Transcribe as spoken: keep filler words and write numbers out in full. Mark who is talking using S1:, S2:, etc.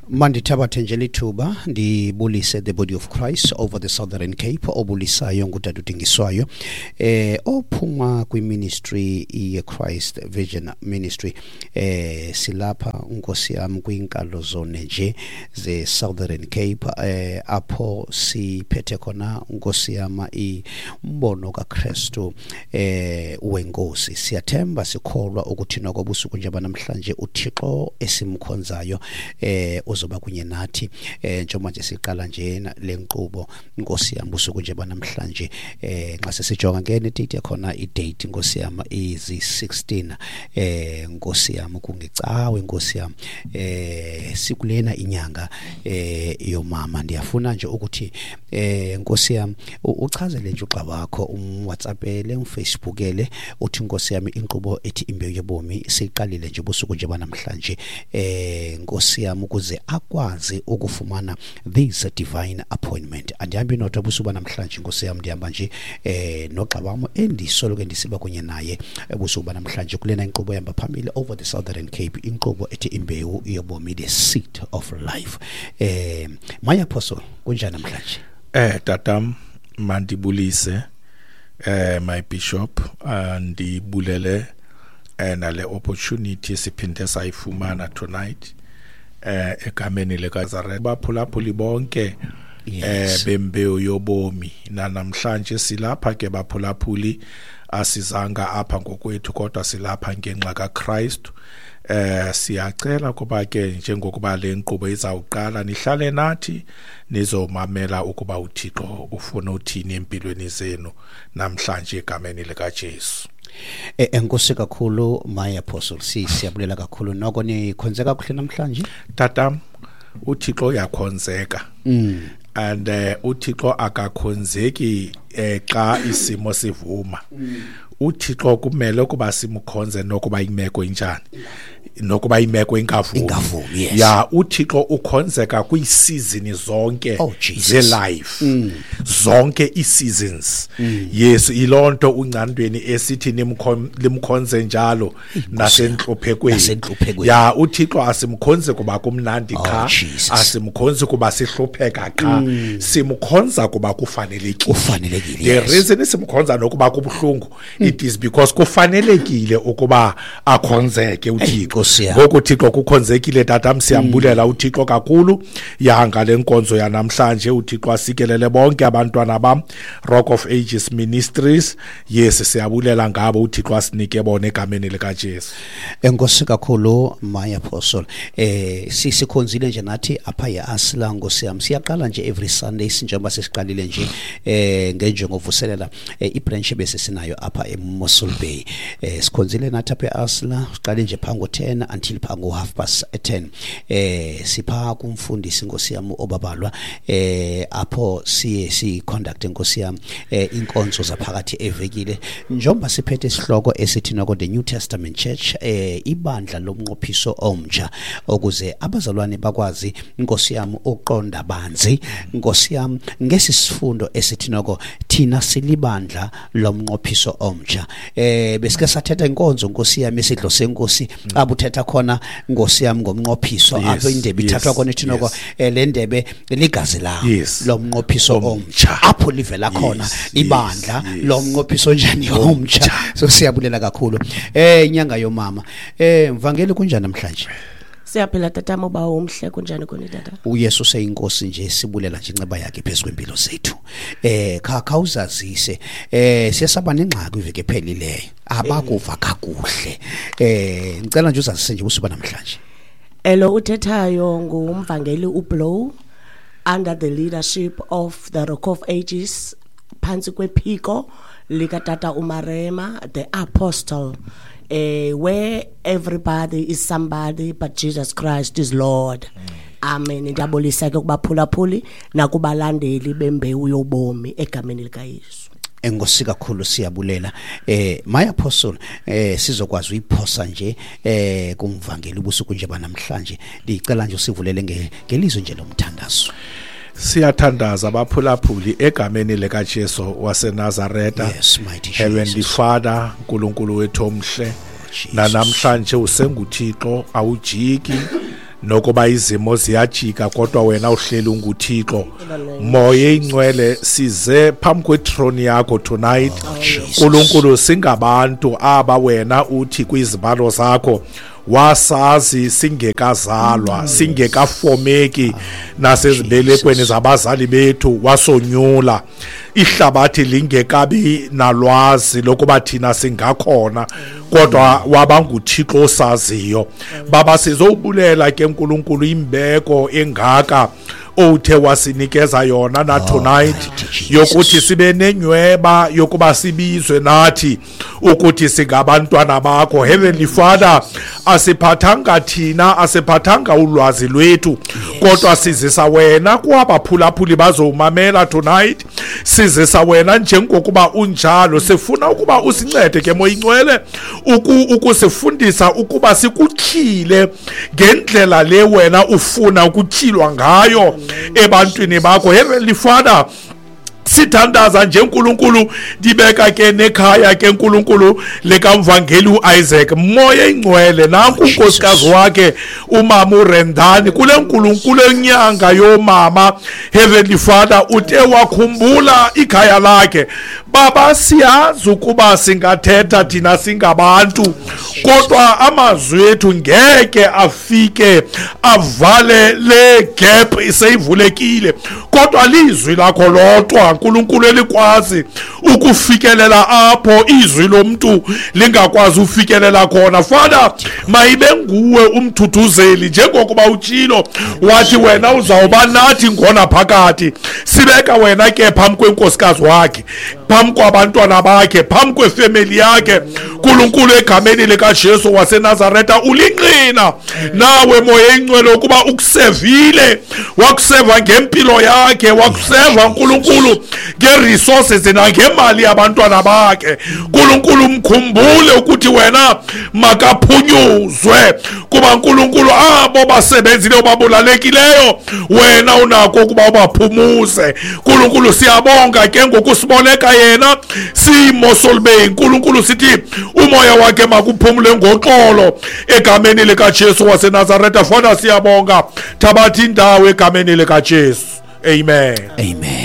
S1: Mandithabathe nje lithuba ndibulise the body of Christ over the Southern Cape, obulisayo ngutata uDingiswayo eh ophuma kwiministry ye-Christ Vision Ministry. eh silapha Nkosi yami kwinkalo zone nje ze Southern Cape, eh apho siphethe khona Nkosi yami imbono kaKristu eh wenkosi. Siyathemba sikholwa ukuthi noko busuku nje namhlanje uThixo esimkhonzayo eh uzoba kunye nathi eh njengoba nje siqala nje le nkqubo Nkosi yami busuku nje namhlanje. eh nxa sesijonga ke ne date yakhona, i-date Nkosi yami izi sixteen eh Nkosi yami kungecawe Nkosi yami eh sikulena inyanga eh yomama. Ndiyafuna nje ukuthi eh Nkosi yami uchazele nje ugxa wakho, umWhatsAppele, umFacebookele, uthi Nkosi yami inkqubo ethi Imbewu Yobomi siqalile nje busuku nje namhlanje eh Nkosi yami ukuze akwazi ukufumana this divine appointment. Andihambi nodwa busuku namhlanje Nkosi yami, ndihamba nje eh nogxa wam endisolo ke ndisiba kunye naye ebusuku namhlanje kulena inkqubo ehamba phambili over the Southern Cape, inkqubo ethi Imbewu Yobomi, the Seed of Life. eh my apostle, kunjani namhlanje?
S2: Eh tatam, mandibulise eh my bishop, andibulele eh nale opportunity siphinde sayifumana tonight eh egameni likaNazaretha. Baphulaphuli bonke eh bembewu yobomi, na namhlanje silapha ke baphulaphuli, asizanga apha ngokwethu kodwa silapha ngenxa kaKristu. Eh siyacela kuba ke njengokuba le nkqubo izawuqala nihlale nathi nizomamela ukuba uThixo ufuna uthini empilweni zenu namhlanje egameni likaJesu.
S1: Eh enkosi kakhulu my apostle, si siyabulela kakhulu. Noko nikhonze kakuhle namhlanje?
S2: Tatam, uThixo uyakhonzeka.
S1: Mm.
S2: And uh, uThixo akakhonzeki eh, xa isimo sivuma. UThixo kumele ukuba simkhonze nokuba imeko injani, nokuba imeko ingavumi.
S1: Ingavumi, yes.
S2: Ya, uThixo ukhonzeka kwiisizini zonke
S1: Oh, Jesus.
S2: ze-life,
S1: Mm.
S2: zonke ii-seasons.
S1: Mm.
S2: Yes, ilonto uncandweni esithi nimkhon- limkhonze njalo nasentluphekweni.
S1: Nasentluphekweni.
S2: Ya, uThixo asimkhonze kuba kumnandi
S1: Oh,
S2: qha,
S1: Jesus.
S2: asimkhonzi kuba sihlupheka qha, simkhonza kuba kufanelekile.
S1: Kufanelekile,
S2: The
S1: yes.
S2: reason simkhonza nokuba kubuhlungu, it is because kufanelekile ukuba akhonzeke uThixo.
S1: Nkosi yami.
S2: Ngoku uThixo kukhonzekile tatam, siyambulela uThixo kakhulu ya ngale nkonzo yanamhlanje. UThixo asikelele bonke abantwana bam, Rock of Ages Ministries. Yes, siyabulela ngabo, uThixo asinike bona egameni likaJesu.
S1: Enkosi kakhulu my apostle. eh sisikhonzile nje nathi apha eAsla Nkosi yami. Siyaqala nje every Sunday njengoba sesiqalile nje eh ngenjongo vuselela eh, ibranch bese sinayo apha eMossel Bay. eh sikhonzile nathi apha eAsla, siqale nje phango ten until phango half past ten. eh sipha kumfundisi Nkosi yami obabalwa eh apho siye si conduct Nkosi yami eh inkonzo zaphakathi evekile, njengoba siphethe isihloko esithi noko the New Testament Church, eh ibandla lomnqophiso omtsha, ukuze abazalwane bakwazi Nkosi yami uqonda banzi Nkosi yami ngesi sifundo esithi noko thina silibandla lomnqophiso omtsha. eh besike sathetha inkonzo Nkosi yami isidlo senkosi, abuthetha khona Nkosi yami ngomnqophiso,
S2: Yes,
S1: apho indebe ithathwa
S2: yes,
S1: khona ithi noko
S2: yes.
S1: eh, le ndebe ligazi lami
S2: Yes.
S1: lomnqophiso
S2: Omtsha.
S1: omtsha, apho livela khona
S2: Yes,
S1: ibandla
S2: yes, yes.
S1: lomnqophiso njani omtsha. So siyabulela kakhulu. eh inyanga yomama. eh mvangeli, kunjani namhlanje?
S3: Siyaphila tatam, uba umhle, kunjani kuni tata?
S1: UYesu seyinkosi nje, sibulela nje inceba yakhe phezu kwempilo zethu. eh kha khawuzazise, eh siyasaba nengxaki iveke ephelileyo, abakuva kakuhle. eh ngicela nje uzazise nje usuba namhlanje.
S3: Elo uthethayo ngumvangeli uBlow, under the leadership of the Rock of Ages, phantsi kwephiko likatata uMarema the Apostle, eh where everybody is somebody but Jesus Christ is Lord. Amen. Ndiyabulisa ke kubaphulaphuli nakubalandeli bembewu yobomi egameni likaYesu.
S1: Enkosi kakhulu, siyabulela. eh my apostle, eh sizokwazi uyiphosa nje eh kumvangeli ubusuku nje banamhlanje. Ndicela nje usivulele nge ngelizwi nje lomthandazo.
S2: Siyathandaza abaphulaphuli egameni likaJesu waseNazaretha.
S1: Yes, mighty
S2: Heavenly
S1: Jesus.
S2: Father, uNkulunkulu wethu omhle,
S1: Jesus.
S2: nanamhlanje usenguThixo, awujiki. Nokuba izimo ziyajika kodwa wena uhleli unguThixo. Moya ingcwele size phambi kwethrone yakho tonight. uNkulunkulu singabantu aba wena uthi kwizibalo zakho wasazi singekazalwa singekafomeki nasezibelekweni zabazali bethu wasonyula ihlabathi lingekabi nalwazi lokuba thina singakhona kodwa wabanguThixo osaziyo. Baba sizobulela ke uNkulunkulu imbeko engaka othe wasinikeza yona na tonight yokuthi sibe nenyweba yokuba sibizwe nathi ukuthi singabantwana bakho. Heavenly Father, asiphathanga thina, asiphathanga ulwazi lwethu, kodwa sizisa wena kwabaphulaphuli bazomamela tonight. Sizisa wena njengokuba unjalo. Sifuna ukuba usincede ke Moya Ingcwele ukusifundisa ukuba sikutyhile ngendlela le wena ufuna ukutyhilwa ngayo ebantwini bakho. Heavenly Father, sithandaza nje uNkulunkulu, ndibeka ke nekhaya ke uNkulunkulu lekamvangeli uIsaac. Moya ingcwele nanku unkosikazi wakhe umama uRendani kule nkulunkulu enyanga yomama. Heavenly Father, uthe wakhumbula ikhaya lakhe. Baba siyazi ukuba singathetha thina singabantu, kodwa amazwi ethu ngeke afike avale le gap iseyivulekile, kodwa lizwi lakho lodwa uNkulunkulu elikwazi ukufikelela apho izwi lomuntu lingakwazi ufikelela khona. Father, mayibe nguwe umthuthuzeli njengokuba utshilo wathi wena uzawuba nathi ngona phakathi. Sibeka wena ke phambi kwenkosikazi wakhe, phambi kwabantwana bakhe, phambi kwefamily yakhe. uNkulunkulu egameni likaJesu waseNazaretha ulinqina nawe Moya ingcwele ukuba ukusevile, wakuseva ngempilo yakhe, wakuseva uNkulunkulu ngeresources nangemali yabantwana bakhe. uNkulunkulu mkhumbule ukuthi wena makaphunyuzwe kuba uNkulunkulu abo basebenzile obabulalekileyo wena unako ukuba ubaphumuze. uNkulunkulu siyabonga ke ngokusiboneka yena simo solbe. uNkulunkulu sithi umoya wakhe makuphumule ngoxolo egameni likaJesu waseNazaretha. Fana siyabonga, thabatha indawo egameni likaJesu. Amen.
S1: Amen.